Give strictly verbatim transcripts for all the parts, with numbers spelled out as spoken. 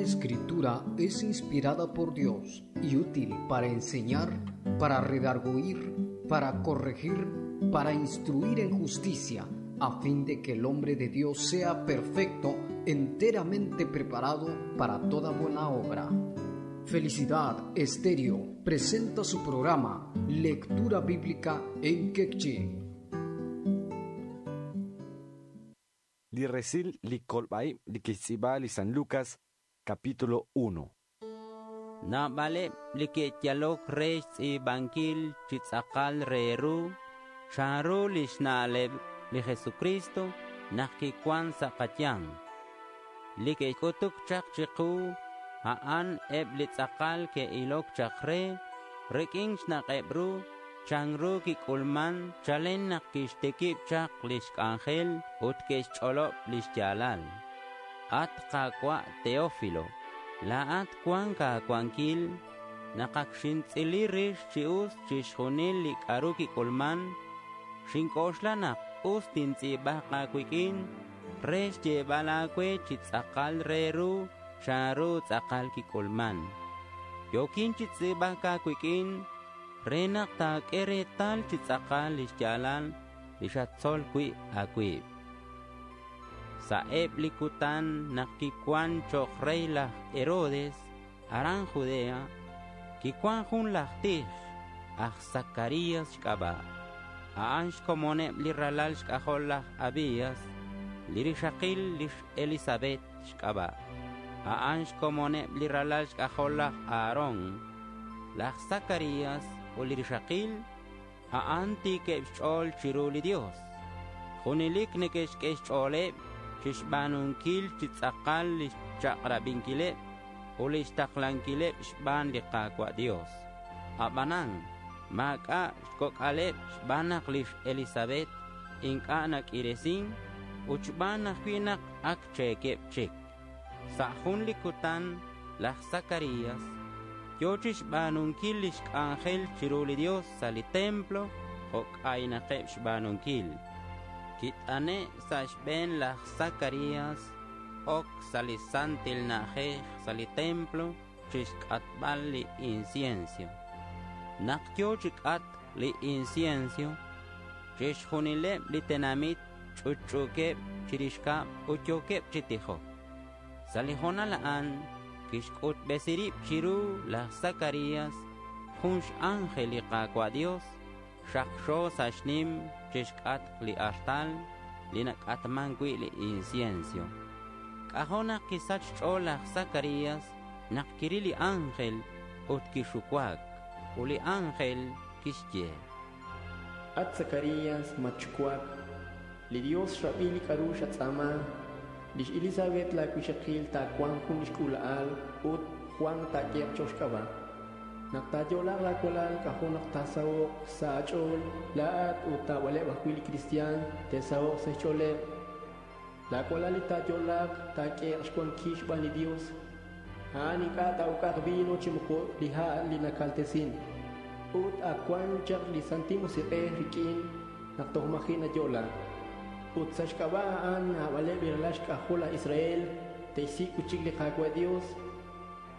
Toda escritura es inspirada por Dios y útil para enseñar, para redarguir, para corregir, para instruir en justicia, a fin de que el hombre de Dios sea perfecto, enteramente preparado para toda buena obra. Felicidad Estéreo presenta su programa Lectura Bíblica en Quechí. Li resil li kolbaib li kixtz'iib'a li San Lucas, capítulo uno. Naab'aleb' li ke'yalok re xtz'iib'ankil chi tz'aqal re ru chanru lix na'leb' li Jesucristo naq kiwan sa' qayanq. Li ke'k'utuk chaq chiqu a'an eb' li tz'aqal ke'ilok chaq re rik'in xnaq'eb' ru chanru kik'ulman chalen naq kixtikib' chaq lix k'anjel ut ke'xch'olob' lix yaalal. At Qaawa' Teófilo, laa'at wan aawankil naq ak xintz'ili rix chi us chixjunil li k'aru kik'ulman, xink'oxla naq us tintz'iib'aq aawik'in re xyeeb'al aawe chi tz'aqal re ru chanru tz'aqal kik'ulman. Yokin chi tz'iib'ak aawik'in re naq taak'e reetal chi tz'aqal lix yaalal li xatzol wi' aawib'. Sa'eb' li kutan naq kiwan cho'q rey laj Herodes aran Judea, kiwan jun laj tij aj Zacarías xk'ab'a'. A'an xkomoneb' li ralal xk'ajol laj Abías, li rixaqil lix Elizabeth xk'ab'a'. A'an xkomoneb' li ralal xk'ajol laj Aarón. Laj Zacarías ut li rixaqil a'an tiikeb' xch'ool chiru li Dios. Junelik neke'xk'e xch'ooleb' chixb'aanunkil chi tz'aqal lix chaq'rab'inkileb' ut lix taqlankileb' xb'aan li Qaawa' Dios. Ab'anan maak'a' xkok'aleb' xb'aan naq lix Elizabeth ink'a' nak'iresin ut xb'aan ajwi' naq ak cheekeb' chik. Sa' jun li kutan laj Zacarías yo chixb'aanunkil lix k'anjel chiru li Dios sa' li templo jo' k'aynaqeb' xb'aanunkil. Kit'ane' sa' xb'een laj Zacarías ok sa' li santil na'ajej sa' li templo chixk'atb'al li incienso. Naq yo chi k'at li incienso, chixjunileb' li tenamit ch'utch'uukeb' chirix kab' ut yookeb' chi tijok. Sa' li hoonal a'an kixk'utb'esi rib' chiru laj Zacarías jun x'ángel li Qaawa' Dios xaqxo sa' xnim chixk'atq li artal li nak'atman wi' li incienso. K'ajo' naq kisach xch'ool laj Zacarías naq kiril li ángel ut kixuwak. Ut li ángel kixye: At Zacarías, matxuwak, li Dios xrab'i li k'aru xatz'aama. Lix Elizabeth la wixaqil taawanq jun lix k'uula'al ut Juan taak'ehaq cho'q xk'ab'a'. Naq taayolaq laawalal k'ajo' naq taasaho'q sa' aach'ool laa'at ut taab'aleb' ajwi' li kristiaan te'saho'q sa' xch'ooleb'. Laawalal li taayolaq taak'ehaq xwankil xb'aan li Dios. A'an ink'a' taa'uk'aq vino chi moko li ha' li nakaltesin. Ut ak wan chaq li Santil Musiq'ej rik'in naq toj maji' nayo'la. Ut sa' xk'ab'a' a'an naab'aleb' li ralal xk'ajol laj Israel te'xsik' chik li Qaawa' Dios.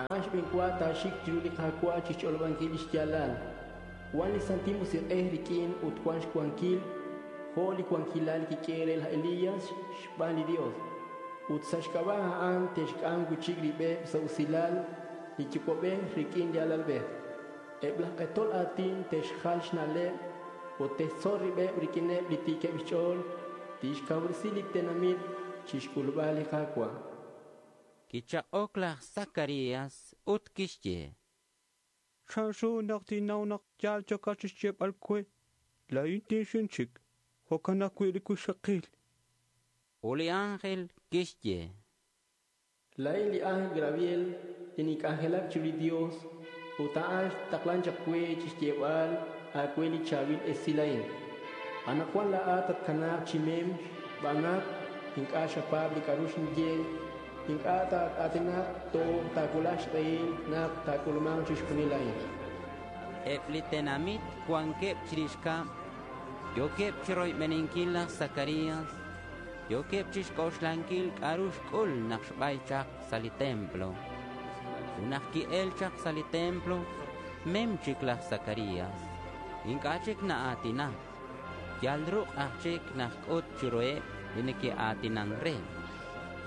A'an xb'eenwa taaxik chiru li Qaawa' chixch'olob'ankil lix yaalal. Wan li Santil Musiq'ej rik'in ut wan xwankil jo' li wankilal kik'e re laj Elías xb'aan li Dios. Ut sa' xk'ab'a' a'an te'xk'am wi'chik rib'eb' sa' usilal li yuwa'b'ej rik'in li alalb'ej. Eb' laj q'etol aatin te'xjal xna'leb' ut te'xtzol rib'eb' rik'ineb' li tiikeb' xch'ool tixkawresi li tenamit chixk'ulb'al li Qaawa'. Kichaq'ok laj Zacarías ut kixye: Chanru naq tinnaw naq yaal chokat chixyeeb'al we, laa'in tinxin chik, jo'kan ajwi' li wixaqil. Ut li ángel kixye: Laa'in li ángel Gabriel li nink'anjelak chiru li Dios ut a'an xtaqlan chaq we chixyeeb'al aawe li chaab'il esil a'in. Anaqwan laa'at tatkanaaq chi mem xb'aan naq ink'a' xapaab' li k'aru xinye, ink'a' taa'aatinaq toj taawulaq xq'ehil naq taak'ulmanq chixjunil a'in. Eb' li tenamit wankeb' chirix kab' yookeb' chi royb'eninkil laj Zacarías Yookeb' chixk'oxlankil k'a'ru xk'ul naq xb'ay chaq sa' li templo. Ut naq ki'el chaq sa' li templo, mem chik laj Zacarías. Ink'a' chik na'aatinak. Yal ruq' aj chik naq k'ut chiruheb' li neke'aatinan re.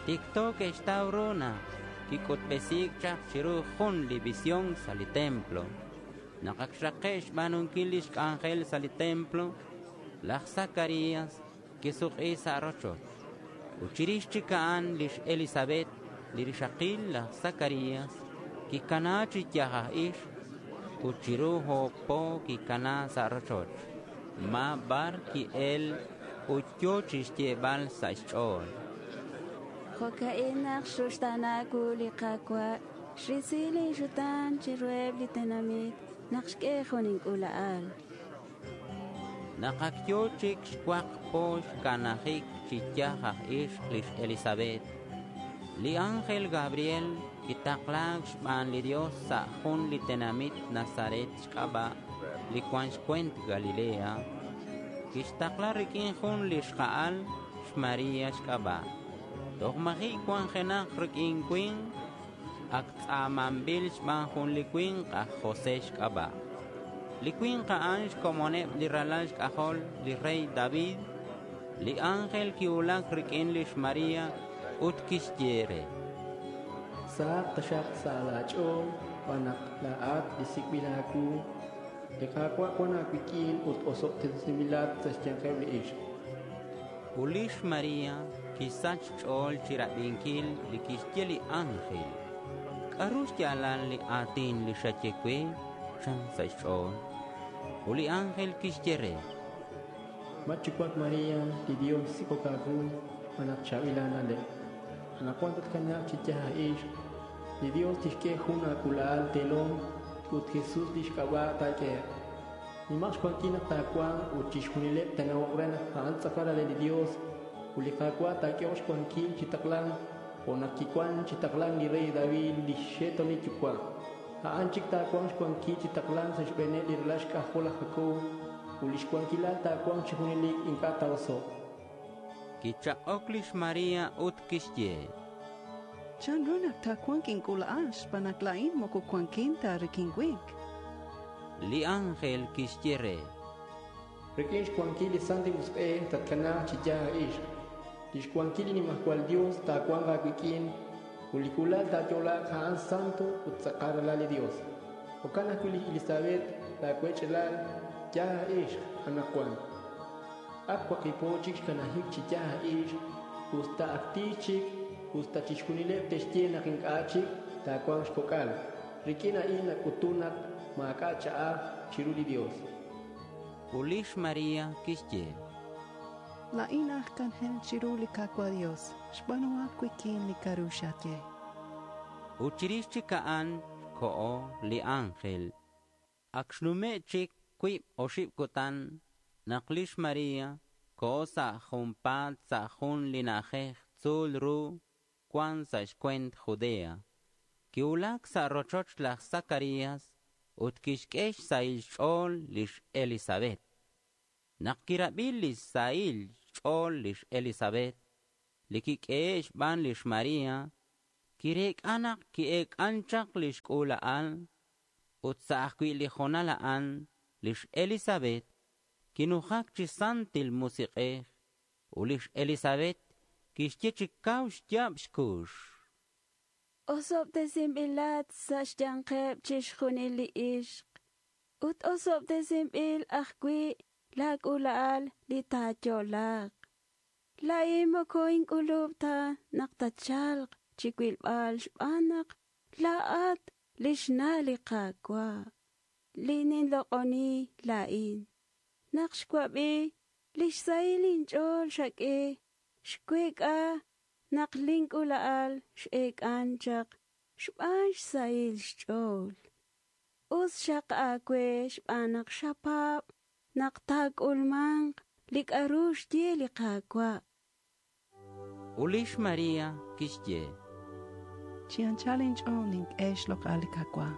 Tikto ke'xtaw ru naq kik'utb'esiik chaq chiru jun li visión sa' li templo. Naq ak xraqe' xb'aanunkil lix k'anjel sa' li templo, laj Zacarías kisuk'i sa' rochoch. Ut chirix chik a'an lix Elizabeth, li rixaqil laj Zacarías, kikana chi yaj aj ix ut chiru oob' po kikana sa' rochoch. Ma bar ki'el ut yo chixyeeb'al sa' xch'ool. Jo'ka'in naq xruxtaana wu li Qaawa' xrisi linxutaan chiruheb' li tenamit naq xk'e jun ink'uula'al. Naq ak yo chik xwaq po xkanajik chi yaj aj ix lix Elizabeth, li ángel Gabriel kitaqlaak xb'aan li Dios sa' jun li tenamit Nazaret xk'ab'a' li cuan xcuent Galilea. Kixtaqla rik'in jun li xja'al xMaria xk'ab'a'. Toj maji' cuanjenak rik'in cuinq, ak tz'aamanb'il xb'aan jun li cuinq aj José xk'ab'a'. Li cuinq a'an xkomoneb' li ralal xk'ajol li rey David. Li ángel kiwulak rik'in lix Maria ut kixye re. Sahaq taxaq sa' laach'ool xb'aan naq laa'at li sik'b'il aawu. Li Qaawa' wan aawik'in ut osob'tesinb'ilat sa' xyanqeb' li ixq. Ut lix Maria kisach xch'ool chirab'inkil li kixye li ángel. K'a'ru xyaalal li aatin li xaye we? Chan sa' xch'ool. Ut li ángel kixye re. Matchuwak Maria, li Dios sik'ok aawu xb'aan naq chaab'il aana'leb'. Anaqwan tatkanaaq chi yaj aj ixq. Li Dios tixk'e jun aak'uula'al teelom ut Jesús lix k'ab'a' taak'ehe'q. Nimaq xwankil naq taawanq ut chixjunileb' taanawoq re naq a'an tz'aqal re li Dios ut li Qaawa' taak'ehoq xwankil chi taqlank jo' naq kiwan chi taqlank li rey David lix xe'toonil yuwa'. A'an chik taawanq xwankil chi taqlank sa' xb'eeneb' li ralal xk'ajol laj Jacob ut lix wankilal taawanq chi junelik ink'a' taa'oso'q. Kichaq'ok lix Maria ut kixye. Chanru naq taawanq ink'uula'al xb'aan naq laa'in moko wankin ta rik'in winq. Li ángel kixye re. Rik'in xwankil li Santil Musiq'ej tatkanaaq chi yaj aj ixq. Lix wankil li Nimajwal Dios taawanq aawik'in ut li k'uula'al taayo'laaq a'an santo ut tz'aqal ralal li Dios. Jo'kan ajwi' li Elizabeth laawech'elal yaj aj ixq anaqwan. Ak waqib' po chik xkanajik chi yaj aj ixq, usta ak tiix chik, usta chixjunileb' te'xye naq ink'a' chik taawanq xkok'al. Rik'in a'in nak'utun naq maak'a' ch'a'aj chiru li Dios. Ut lix Maria kixye. Laa'in aj k'anjel chiru li Qaawa' Dios, xb'aanuhaq wik'in li k'a'ru xaye. Ut chirix chik a'an xko'o li ángel. Ak xnume' chik cuib oxib' kutan naq lix Maria ko'o sa' junpaat sa' jun li na'ajej tzuul ru cuan sa' xcuent Judea. Kiwulak sa' rochoch laj Zacarías ut kixk'e xsahil xch'ool lix Elizabeth. Naq kirab'i li xsahil xch'ool lix Elizabeth, li kik'ehe' xb'aan lix Maria, kireek'a naq ki'eek'an chaq lix k'uula'al ut sa' ajwi' li jonal a'an lix Elizabeth kinujak chi Santil Musiq'ej ut lix Elizabeth kixye chi kaw xyaab' xkux. Osob'tesinb'ilat sa' xyanqeb' chixjunil li ixq ut osob'tesinb'il ajwi' laak'uula'al li taayo'laaq. Laa'in moko ink'ulub' ta naq tatchalq chi wilb'al xb'aan naq laa'at lix na' li Qaawa'. Li ninloq'oni laa'in. Naq xwab'i lix sahil inch'ool xak'e xweek'a naq link'uula'al x'eek'an chaq xb'aan xsahil xch'ool. Us xaq aawe xb'aan naq xapaab' naq taak'ulmanq li k'a'ru xye li Qaawa'. Ut lix Maria kixye. Chi anchal inch'ool nink'e xloq'al li Qaawa'.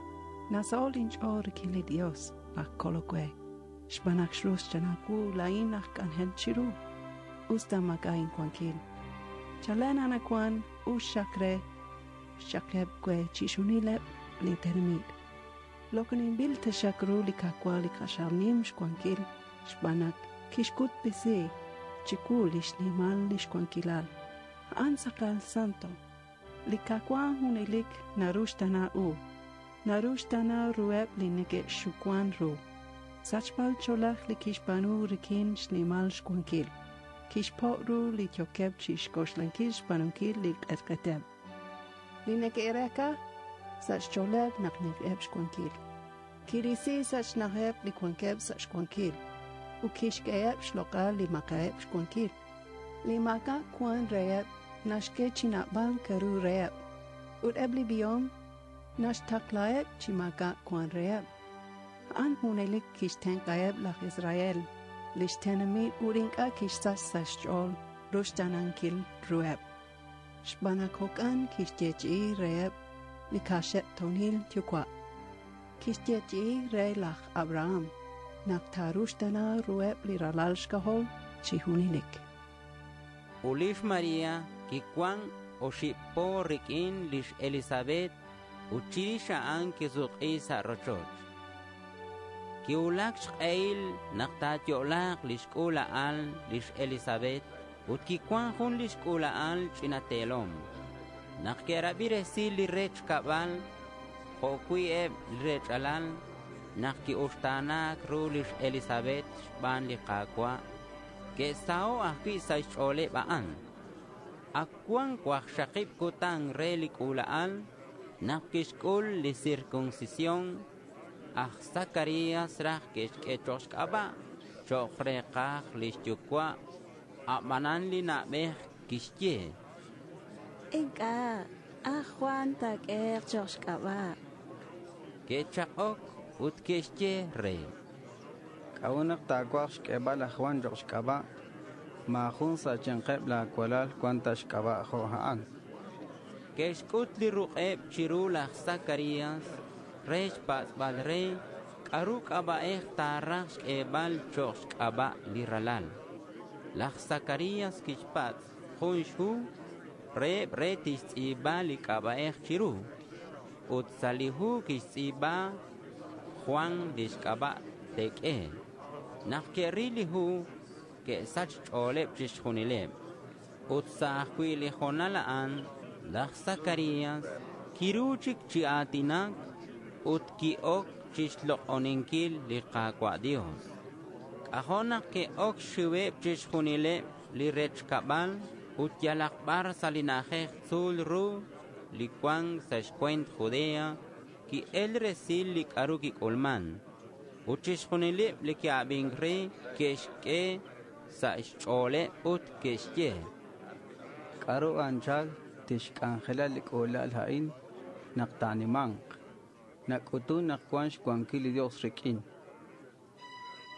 Nasaho' linch'ool rik'in li Dios laj kolol we. Xb'aan naq xrus chanawu laa'in aj k'anjel chiru. Usta maak'a' inwankil. Chalen anaqwan us xaq re xchaqeb' we chixjunileb' li tenamit. Loq'oninb'il taxaq ru li Qaawa' li q'axal nim xwankil xb'aan naq kixk'utb'esi chiwu li xnimal li xwankilal. A'an tz'aqal santo. Li Qaawa' junelik naruxtaana u. Naruxtaana ruheb' li neke'xuwan ru. Sachb'al ch'oolej li kixb'aanu rik'in xnimal xwankil. Kixpo' ru li yookeb' chi xk'oxlankil xb'aanunkil li q'etq'eteb'. Li neke'reek'a sa' xch'ooleb' naq neke'eb' xwankil. Kirisi sa' xna'ajeb' li wankeb' sa' xwankil ut kixk'eheb' xloq'al li maak'a'eb' xwankil. Li maak'a' wan reheb' naxk'e chi naab'al k'aru reheb', ut eb' li b'ihom naxtaqlaheb' chi maak'a' wan reheb'. A'an junelik kixtenq'aheb' laj Israel, lix tenamit ut ink'a' kixsach sa' xch'ool ruxtaanankil ruheb'. Xb'aan naq jo'kan kixyeechi'i reheb' li kaxe'toonil yuwa'. Kixyeechi'i re laj Abraham naq taaruxtaana ruheb' li ralal xk'ajol chi junelik. Ut lix María kiwan oxib' po rik'in lix Elizabeth ut chirix a'an kisuk'i sa' rochoch. Kiwulak xq'ehil naq taayo'laaq lix k'uula'al lix Elizabeth ut kiwan jun lix k'uula'al ch'ina teelom. Naq ke'rab'i resil li rech kab'al jo'wi' eb' li rech'alal naq ki'uxtaanaak ru lix Elizabeth xb'aan li Qaawa', ke'saho' ajwi' sa' xch'ooleb' a'an. Ak wan waqxaqib' kutan re li k'uula'al naq kixk'ul li circuncisión. Aj Zacarías raj ke'xk'e cho'q xk'ab'a' cho'q reeqaj lix yuwa', a'b'anan li na'b'ej kixye: Ink'a', aj Juan taak'ehe'q cho'q xk'ab'a'. Ke'chaq'ok ut ke'xye re: K'a'ut naq taawaj xk'eeb'al laj Juan cho'q xk'ab'a'? Maajun sa' xyanqeb' laacualal cuan ta xk'ab'a' jo' a'an. Ke'xk'ut li ruq'eb' chiru laj Zacarías re xpatz'b'al re k'a'ru k'ab'a'ej taaraj xk'eeb'al cho'q xk'ab'a' li ralal. Laj Zacarías kixpatz' jun xhu reheb' re tixtz'iib'a li k'ab'a'ej chiru. Ut sa' li hu kixtz'iib'a Juan lix k'ab'a' te'k'e. Naq ke'ril li hu, ke'sach xch'ooleb' chixjunileb'. Ut sa' ajwi' li hoonal a'an, laj Zacarías kiru chik chi aatinak ut ki'ok chixloq'oninkil li Qaawa' Dios. K'ajo' naq ke'ok xxiweb' chixjunileb' li rech kab'al ut yalaq b'ar sa' li na'ajej tzuul ru li cuan sa' xcuent Judea ki'el resil li k'a'ru kik'ulman. Ut chixjunileb' li ke'ab'ink re ke'xk'e sa' xch'ooleb' ut ke'xye: K'a'ru anchal tixk'anjela li k'uula'al a'in naq taanimanq. Nak'utun naq cuan xcuanquil li Dios rik'in.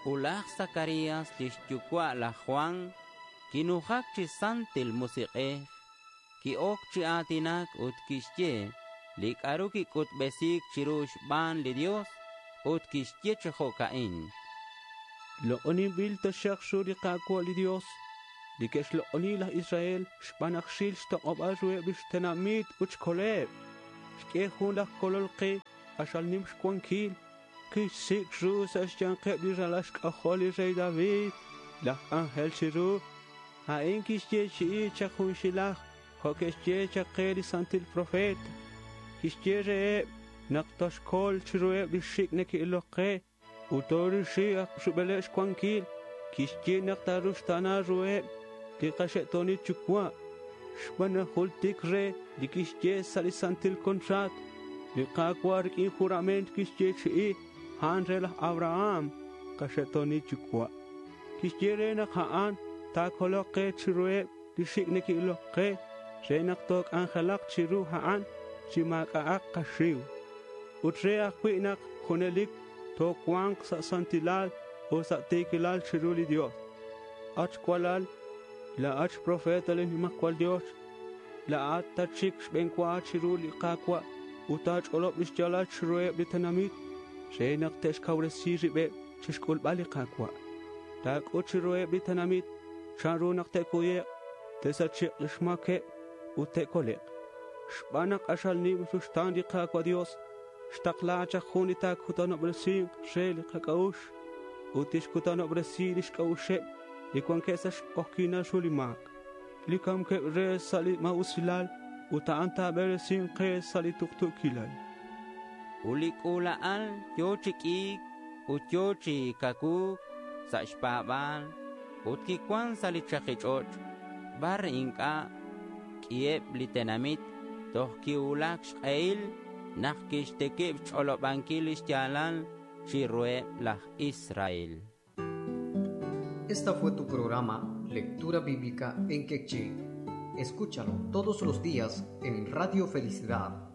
Ut laj Zacarías lix yuwa' laj Juan kinujak chi Santil Musiq'ej, ki'ok chi aatinak ut kixye li k'a'ru kik'utb'esiik chiru xb'aan li Dios ut kixye chi jo'ka'in: Loq'oninb'il taxaq ru li Qaawa' li Dios, li ke'xloq'oni laj Israel xb'aan naq xril xtoq'ob'al ruheb' lix tenamit ut xkoleb'. Xk'e jun laj kolol qe q'axal nim xwankil, kixsik' ru sa' xyanqeb' li ralal xk'ajol li rey David, laj k'anjel chiru. A'in kixyeechi'i chaq junxilaj jo' ke'xye chaq qe li santil profeta. Kixye reheb' naq toxkol chiruheb' li xik' neke'ilok qe ut toorisi rub'eleb' xwankil. Kixye naq taaruxtaana ruheb' li qaxe'toonil yuwa' xb'aan naq jultik re li kixye sa' li santil contrato. Li Qaawa' rik'in jurament kixyeechi'i a'an re laj Abraham qaxe'toonil yuwa'. Kixye re naq a'an taakoloq qe chiruheb' li xik' neke'ilok qe re naq took'anjelaq chiru a'an chi maak'a'aq qaxiw. Ut re ajwi' naq junelik tocuanq sa' santilal ut sa' ti̱quilal chiru li Dios. At cualal, laa'at xprofeta li Nimajwal Dios, laa'at tatxik xb'enwa chiru li Qaawa' ut taach'olob' lix yaalal chiruheb' li tenamit re naq te'xkawresi rib'eb' chixk'ulb'al li Qaawa'. Taak'ut chiruheb' li tenamit chanru naq te'kuye'q Te'sache'q lix ma̱queb ut te'colek'. Xban nak k'axal nim ruxta̱n li Ka̱cua' Dios, xtakla chak jun li ta̱cutanobresi̱nk re li kac'a'ux ut tixcutanobresi lix c'a'uxeb li cuanqueb sa' xk'ojyi̱nal ru li ma̱c, li ca̱mqueb re sa' li ma̱usilal, ut a'an ta̱beresin ke sa' li tuktu̱quilal. Ut li c'ula'al yo̱ chi q'ui̱c ut yo̱ chi cacuu̱c sa' xpa̱ba̱l ut quicuan sa' li chaki ch'och' bar inc'a' q'uiheb li tenamit toj quicuulac xk'ehil nak quixtiquib xch'olobanquil li xya̱lal chiruheb laj Israel. Esta fue tu programa Lectura Bíblica en Quechí. Escúchalo todos los días en Radio Felicidad